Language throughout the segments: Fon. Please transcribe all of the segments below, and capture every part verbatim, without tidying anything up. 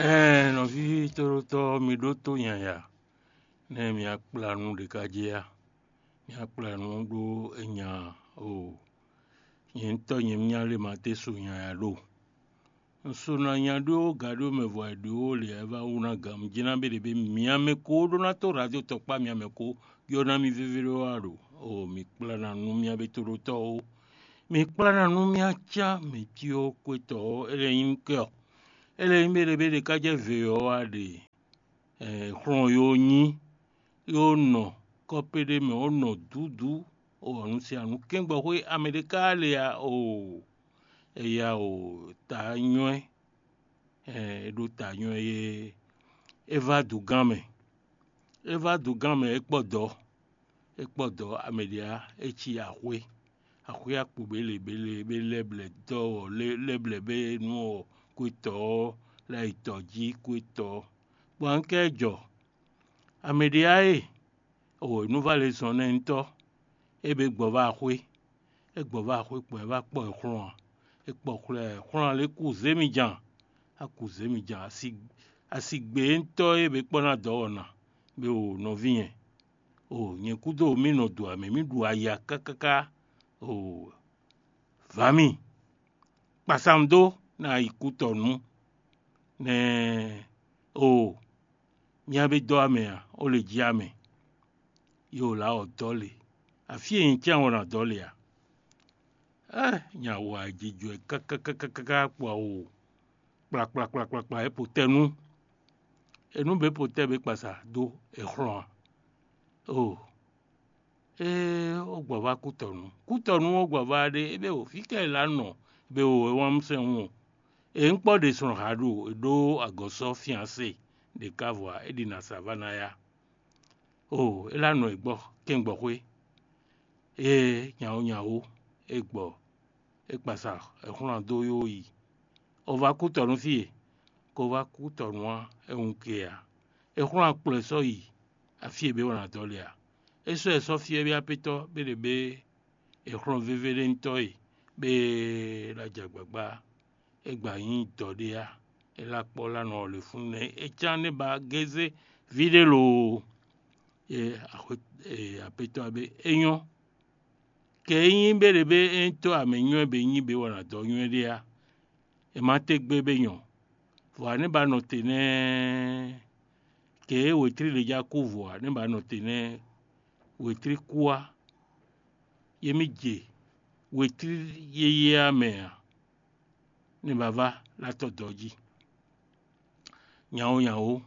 Ɛɛ, nɔví tóɖótɔ́, mi ɖótó nyanya, nɛ́ mi akpla nú ɖě ká jɛ a? Mi akpla nú ɖó enya o. Nyɛ ŋutɔ́ nyɛ myá lé ma té su nyanya ɖo. Un so ná nya ɖó gaɖó mɛ vɔ e ɖó lě e vá wú ná gǎn. Un jlá bé ɖě bé myá mɛ ko ɖó ná tó radio tɔkpá myá mɛ ko yɔ ná mi vévé ɖó wá ɖo. O, mi kplá ná nú myá bé tóɖótɔ́ ó. Mi kplá ná nú myá cá mɛ cí ó kwétɔ́ ɔ́, é lɛ́ nyí kɛ ɔ́. É lɛ́ nyí bé ɖě bé ɖě ká jɛ ve ɔ́ wá ɖe. Xlɔn yo nyí, yo nɔ kɔ́pé ɖé mɛ, ó nɔ dǔdú, o anu sin anu kɛ́ngbɔxwé Amerika lě a o, eya o ta nywɛ́, é ɖó ta nywɛ́ é, é vá dugán mɛ, é vá dugán mɛ, é kpɔ dɔ̌, é kpɔ dɔ̌ Amerika, é cí axwé, axwé akpo bélebéle bé lɛ́blɛ̌ dɔ́ ɔ́, lɛ́blɛ̌ bé nú ɔ́ kwétɔ́ ɔ́ lɛ́ yi tɔ̌ jí kwétɔ́. Bɔ un kɛ jɔ, Amerika e, o nú vá lě zɔn nɛ́ ŋutɔ́, é bě gbɔ vá axwé, é gbɔ vá axwé kpɔ́n é vá kpɔ ɛ xlɔ́n ǎ. É kpɔ xlɔ́ ɛ xlɔ́n ǎ lě kú zě mi jan, a kú zě mi jan, asi gbe ŋutɔ́ e bě kpɔ́ ná dɔ̌ ɔ́ ná, bě o nɔví nyɛ. O nyɛ kúdo mì nɔ ɖu amɛ, mì ɖu aya kákáká. O vǎ mì, kpasam dó ná yi kú tɔ nú nɛ́. O myá bé dɔ́ amɛ ǎ, ó lě jí amɛ. Yo lá ɔ́ dɔ́ lě, afí e nyɛ cán ɔ́ ná dɔ́ lě ǎ. Ɛ́, nya wa jijɔ ɛ kákákákáká kpɔ awo kplakplakplakplakpla é po tɛ́ nú. É nú bě po tɛ́ bě kpasa dó è xlɔ́n ǎ. O, ée ó gbɔ vá kútɔnu. Kútɔnu ó gbɔ vá ɖé, é bɛ o fí ká è lá nɔ bɛ o é wán mɛ sɛn wun. È ń kpɔ́ ɖe sɔn ha ɖo è ɖó agɔ̌sɔ fianse ɖě ká vɔ ǎ, é ɖi nǎ sa vá ná yá. O, é lá nɔ è gbɔ kɛngbɔxwé. Ée nyawó nyawó é gbɔ é kpasa è xlɔ́n dó yó yi. O vá kútɔnu fí e, ko vá kútɔnu ǎ, é wun ke ǎ. È xlɔ́n akplɔ ɛ sɔ́ yi afí e bě wɔ ná dɔ́ lɛ ǎ. É sɔ́ ɛ sɔ́ fí é bě apétɔ́ bě ɖě bě è xlɔ́n vévé ɖé ŋutɔ́ e bě lá jɛ agbǎgbá. É gba nyí dɔ̌ ɖé á. É lá kpɔ́ lá nɔ ɔ́ lě fún nɛ́ é cán nɛ́ ba gézé ví ɖé loo. E axwe e apétɔ́ ɔ́ bé é nyɔ́. Kɛ é nyí bé ɖě bé é nyí tó amɛ nywɛ́ bé nyí bé wɔ nǎ dɔ́ nywɛ́ ɖé á. È ma té gbé bé nyɔ. Vɔ ǎ nɛ́ ba nɔ te nɛ́. Kɛ é wětlí ɖě já kú vɔ ǎ nɛ́ ba nɔ te nɛ́. Wětlí kú á. Yě mì je wětlí yéyé á mɛ ǎ. Nɛ́ ba vá lá tɔ́ dɔ̌ jí. Nyawó nyawó,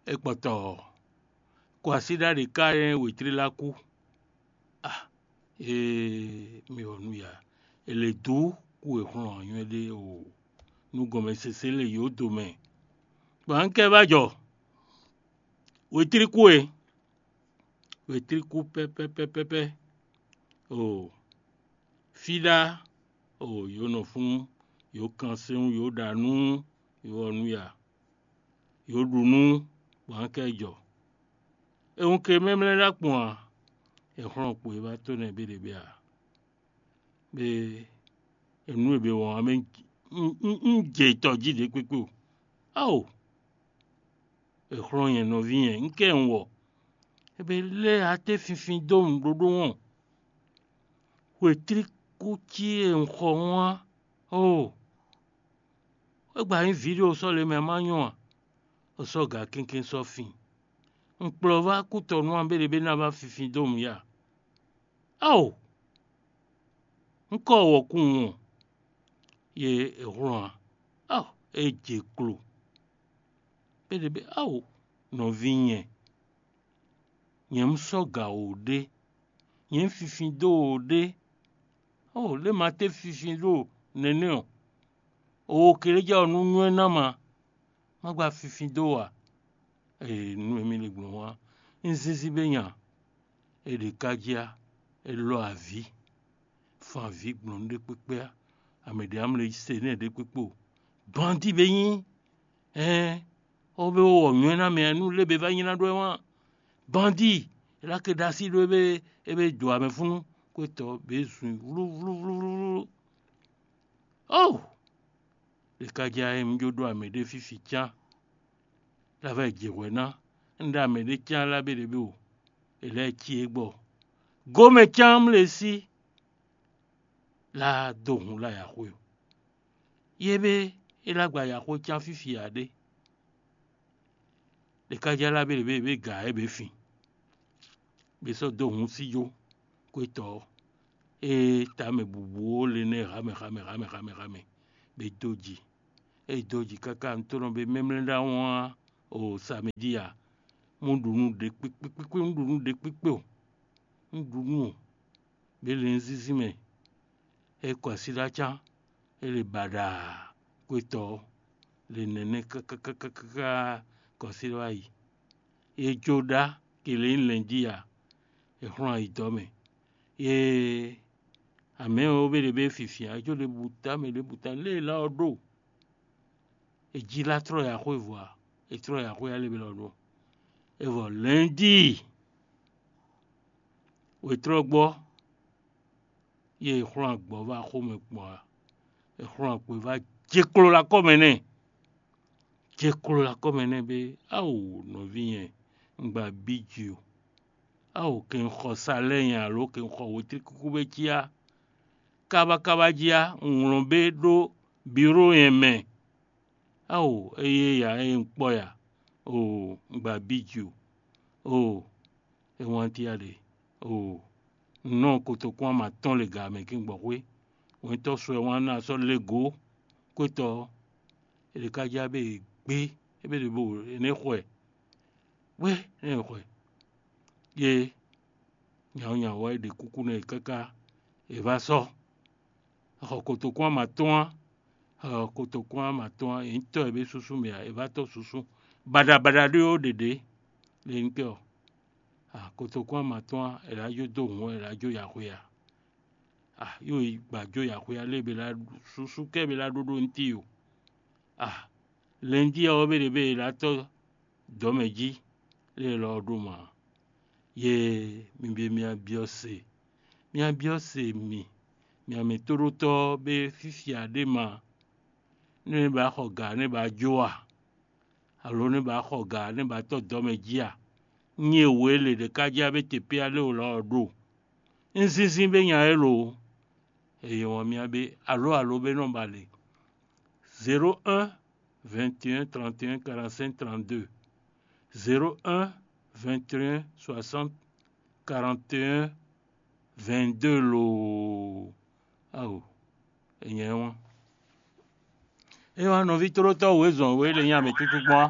é kpɔtɔ ɔ́, kɔ así ɖa ɖě ká nyɛ wětlí lá kú. A ee, mi wɔ nú ya. È lě dú kú è xlɔ́n anywɛ́ ɖé o. Nú gɔmɛsese lě yǒ do mɛ. Bɔ un kɛ vá jɔ. Wětlí kú e. Wětlí kú pɛ́pɛ́pɛ́pɛ́pɛ́. O fí ɖá, o yǒ nɔ fún, yǒ kan sɛ́n wú, yǒ ɖa nú, yǒ ɔ́ nú ya, yǒ ɖu nú, bɔ un kɛ jɔ. È wun ke mlɛ́mlɛ́ ɖó akpɔn a? È xlɔ́n kpo e vá tó nɛ́ béɖebé a? Bé e nǔ e be wɔn ɔ́ mɛ, un jɛ tɔ jí ɖě kpékpé o. Ao! È xlɔ́n nyɛ nɔví nyɛ, un kɛ un wɔ. È be lɛ́ até finfin dó nǔɖoɖo wɔn. Wětlíkú cí e un xɔ wɔn á. Oo! É gba nyí vǐ ɖé o sɔ́ le mɛ má nyɔ́ a? O sɔ́ gǎ kɛ́nkɛ́n sɔ́ fin. Un kplɔ́ vá kútɔnú ǎ bé ɖě bé ná vá finfin dó nǔ ya. Ao! Un kɔ wɔ̌kúnwun ɔ́, ye è hlɔ́n ǎ. Ao! É jɛ klo. Bé ɖě bé, ao! Nɔví nyɛ, nyɛ un sɔ́ gǎ wǒ ɖé, nyɛ un finfin dó wǒ ɖé. Ao! Lě ma té finfin ɖo nɛnɛ́ ɔ́, o wo keleja ɔ́ nú nywɛ́ ná ma, má gba finfin dó ǎ. Ee, nú émí le gbɔn wá, un zínzín bé nya, è ɖe kájí á, è lɔ avǐ, fan avǐ gbɔn nú ɖé kpékpé á, amɛ ɖě amlɛ yi se nɛ́ ɖé kpékpé o. Bandi bé nyí, ɛ́n, ɔ́ bé wɔ nywɛ́ ná mɛ nú lé bé vá nyi ná ɖó ɛ wán. Bandi, è lá ke ɖó así ɖó é bé é bé dǒ amɛ fúnú, kwétɔ́ bě zun i wlúwlúwlúwlú. Oo! Ɖe ka jɛ ayɛ mi jó ɖó amɛ ɖé fífi cán. Lavɛ jǐ hwɛ ná, un ɖo amɛ ɖé cyán lá bé ɖě bó, è lɛ́ cí é gbɔ. Gomɛ cyán mlé sí lá dó hun lá ya xwé o. Yé bé é lá gba ya xwé cyán fífi ǎ ɖé. Ɖě ká jɛ lá bé ɖě bó è bě gǎ é bě fin, bó sɔ́ dó hun sí jó kwétɔ́ ɔ́, ée tamɛ bǔbú ó le nɛ́ hamɛ hamɛ hamɛ hamɛ hamɛ, bó dó ji. É dó ji káká nǔtɔ́nɔ bó mɛmlɛ́ ɖó awɔn á, o samedi a, mú ɖu nú ɖě kpékpékpé, mú ɖu nú ɖě kpékpé o, mú ɖu nú o, bó le nzínzín mɛ. É kɔ así ɖó acán, é le baɖaa kwétɔ́ ɔ́, le nɛnɛ́ káká kɔ así ɖó ayi. É jó ɖá ke le nyí lɛ̌n jí a, è xlɔ́n ayi dɔ̌ mɛ. Yé amɛ̌ ɔ́, bé ɖě bɛ́ fifin ǎ, é jó ɖěbǔ tamɛ ɖěbǔ tamɛ lé e lá ɔ́ ɖo. È jí lá tlɔ́ ya xwé vɔ a? È tlɔ́ ya xwé alé bɛ lɔ ɖo. É vɔ lɛ̌ndíi wětlɔ́gbɔ́, yě è xlɔ́n agbɔ̌ vá xomɛ gbɔn a? È xlɔ́n agbɔ̌ vá jeklo lɔ akɔ́ mɛ nɛ́. Jeklo lɔ akɔ́ mɛ nɛ́ bé, ao nɔví nyɛ, un gba bí ji o. Ao kɛ un xɔ salɛ́ nyɛ alo kɛ un xɔ wětlíkúkú bé cí á, kábákábá jí á, un wlɔn bé ɖó biró nyɛ mɛ. Ao éyé ya ée un kpɔ́ ya, oo un gba bí ji o, oo é wán tíá ɖe, oo un nɔ kotokún ama tɔn le ga mɛ kíngbɔxwé. Wɛntɔ́ sɔ ɛ wán ná sɔ́ lé gǒ kwétɔ́ ɔ́, è ɖě ká já bé e gbé, é bé ɖě bo è nɛ́ xɔ ɛ, wé é nɛ́ xɔ ɛ. Yé nyawɔ́nyawɔ́ é ɖe kúkú nú ɛ káká è vá sɔ́. Xɔ kotokún ama tɔn á, xɔ kotokún ama tɔn á, è nyí tɔ́ e bé súsú mɛ ǎ, è vá tɔ́ súsú baɖabaɖa ɖé ɔ́ ɖěɖě. Le nyí kɛ ɔ́, a kotokún ama tɔn á, è ɖǎ jó dó hǔn, è ɖǎ jó yaxwe ǎ. A yó yi gbǎ jó yaxwe ǎ lé bě lá súsú kɛ bě lá ɖó ɖó ntí o. A lɛ̌njí ɔ́ bé ɖě bě è ɖǎ tɔ́ dɔ̌ mɛ jí, lé lɔ ɔ́ ɖó ma. Yě mi bí myá byɔ́ se, myá byɔ́ se mi, myá mɛ tóɖótɔ́ bé fífia ɖé ma, nú é ba xɔ gǎ nú é ba jó a? Alo nú é ba xɔ gǎ nú é ba tɔ́ dɔ̌ mɛ jí a? Nyí e wǒ e lě ɖé ká jɛ abétepéa lé o lɔ ɔ́ ɖo. Un zínzín bé nya élɔ́ o. Eye wɔn myá bé alo alo bé nɔ ba le. Zéro un, vingt et un, trente et un, quarante-cinq, trente-deux. Zéro un, vingt et un, soixante, quarante et un, vingt-deux loo. Ao, e nyɛ wá. E wá nɔví tlólótɔ́ wězɔn wě le nyi amɛ tútú gbɔn á.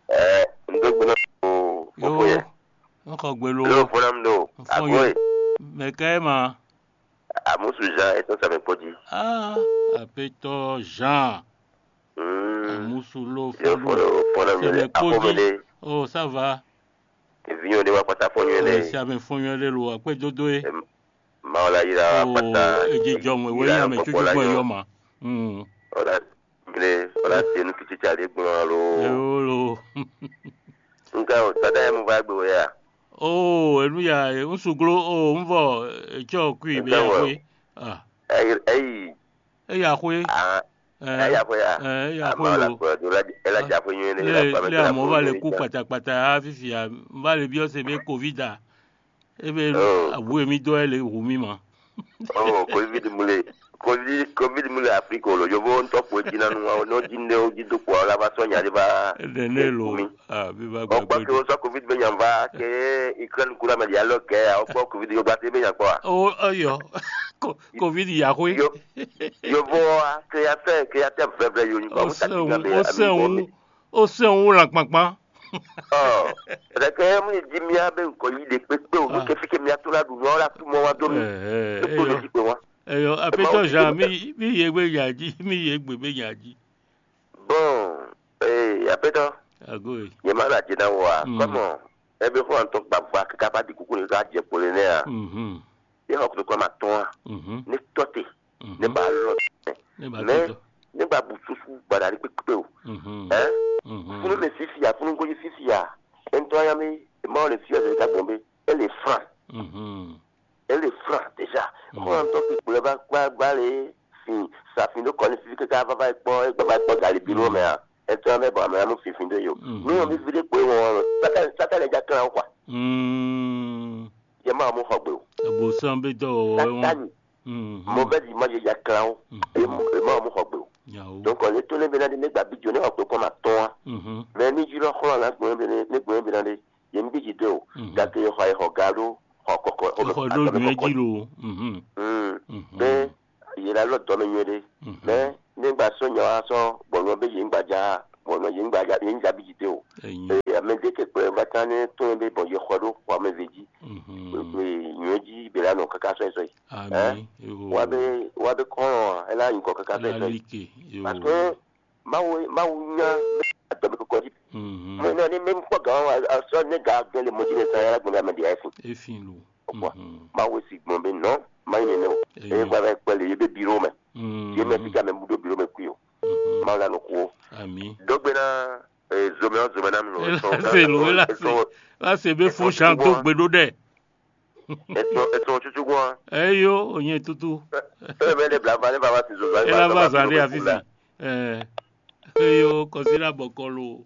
Ɛ, n dó gbe náà o. Yo, n xɔ gbe lo. Ló fɔlá mi ɖo. Agbo e. Mɛ ka ɛ ma. Amusu Jean etɔn sa mɛ kpɔdzi. Ah, apetɔ Jean. Mm. Amusu lo. Yo fɔlɔ fɔlɔ mi le. Sɛmɛ kpɔdzi. Oh, ça va. Evinyɔ ɖe wa kpata fɔnyɔ ɖe. Si amɛ fɔnyɔ ɖe lo akpɛ dodo e. Mawu la yira kpata. Eji jɔ mɛ wɛ yira mɛ tutu gbɔn yɔ ma. Mm. Ɔla mle ɔla se nu kiti tsa ɖe gblɔ alo. Ewolo. Nka o dada yɛ mo va gbe wɛ ya. Oh, enu ya, un suglo, oh, un vɔ etsɔ kui be ya we. Ah. Ɛyi ɛyi. Eya xwe. Ah. Ɛ, eya xwe ya. Ɛ, eya xwe lo. Ela dza xwe nyuie ne. Le amɔ va le ku kpatakpata ya fifi ya, va le biɔ se be covid a. Ebe awu emi dɔ le hu mi ma. Oh, covid mu le. Covid covid mu le Afrique lo. Yovo ntɔ ko dzi na nu wa no dzi ne o dzi do ko la va sɔ nya de va. Nene lo. Ah, bi va gbagbe. Ọgbọ́n kí o sọ covid bẹ yàn va kẹ Ukraine kúrò mẹ dialọ kẹ ọgbọ́n covid yóò gba sí bẹ yàn kpọ́ wa. Oh, ọyọ. Covid ya xwe. Yovo wa, créateur, créateur vɛvɛ yo nyigba. Ó sɛn wú, ó sɛn wú, ó sɛn wú lan kpankpan. Ɔ, ɖeke mu yi di mía be ŋkɔ yi ɖe kpekpe o, nu ke fi ke mía to la ɖu nua la tu mɔ wa do mi. Ɛ, ɛ, Ekpo eyɔ. Ne fi kpe wa. Eyɔ, apetɔ Jean, mi, mi ye gbe nya dzi, mi ye gbe be nya dzi. Bon, ee, apetɔ. Agoe. Ye ma na dze na wa. Mm. Kɔmɔ, ebe xɔ antɔ gbagba kaka ba di kuku ne ka dze kpo le ne a. Mhm. Ye xɔ kutu kɔ ma tɔn a. Mhm. Ne tɔ te. Mhm. Ne ba lɔ. Ne ba Mais, tɔ. Ne ba bu susu gbada ɖe kpekpe o. Mhm. Hein? Mhm. Funu le fifi ya, funu goyi fifi ya. Ntɔ ya mi, ma le fifi ya de ka gbɔn be. Ele franc. Mhm. Ele franc déjà. Mhm. Xɔ antɔ fi kplɛ ba gba gba le. Fin, sa fin do kɔni fifi kaka va va kpɔ, e gba va kpɔ gali bi lo mɛ a. Ẹ tɔ́n bɛ bɔ amɛ amú finfin ɖé yo. Mhm. Nú wọn bí fi ɖé kpó wọn, sátani sátani ja klán kwa. Mm. Yɛ má mú xɔ gbé o. Ebo sán bí tɔ wɔ wɔ wọn. Sátani Mhm. Mauvaise image ya klán o. Mhm. E má mú xɔ gbé o. Yawo. Donc ne tó ne bena de ne gba bi jo ne xɔ gbé kɔn ma tɔn wa. Mhm. Mais ni ju lɔ xlɔ la gbɔn bena ne gbɔn bena de ye n bi ji de o. Mhm. Gake ye xɔ ye xɔ ga ɖo xɔ kɔkɔ. Xɔ ɖo nuyɛ ji lo. Mhm. Mm. Mhm. Mais ye la lɔ dɔ me nyuie de. Mhm. Mais ne gba sɔ nya wa sɔ gbɔn nyɔ be ye n gba ja gbɔn nyɔ ye n gba ja ye n ja bi ji de o. Enyi. Ee, ame de ke kpɛ va kan ne tó ne be bɔn ye xɔ ɖo xɔ me ve ji. Mhm. Nyuie ji be la nɔ kaka sɔ ye sɔ ye. Ami. Wa be wa be kɔn ɛ la nyikɔ kaka sɔ ye sɔ ye. Alike. Parce que Mawu Mawu nya adɔmɛ kɔkɔ ji. Mhm. Mo nɔ ni mi kpɔ gan wa sɔ ne ga gbɛn le mo ji ne sa ya gbɛn ame de ayi fun. Efin lo. Kpɔ. Mhm. Mawu si gbɔn be nɔ ma yi nene o. Eye gba bɛ kpɛ le ye be biro mɛ. Mhm. Ye mɛ bi ka mɛ bu do biro mɛ kui o. Mhm. Mawu la nɔ ku o. Ami. Dɔgbe na zomɛ zomɛ na mi lo. Elase lo elase. Elase be fo shan do gbeɖo ɖɛ. Ètò ètò òtútù gan. Eyo, onye tutu. Ebe ne blaba ne baba ti zozo. Ela ba zari afisi. Eh. Eyo, kɔsira bɔkɔlo.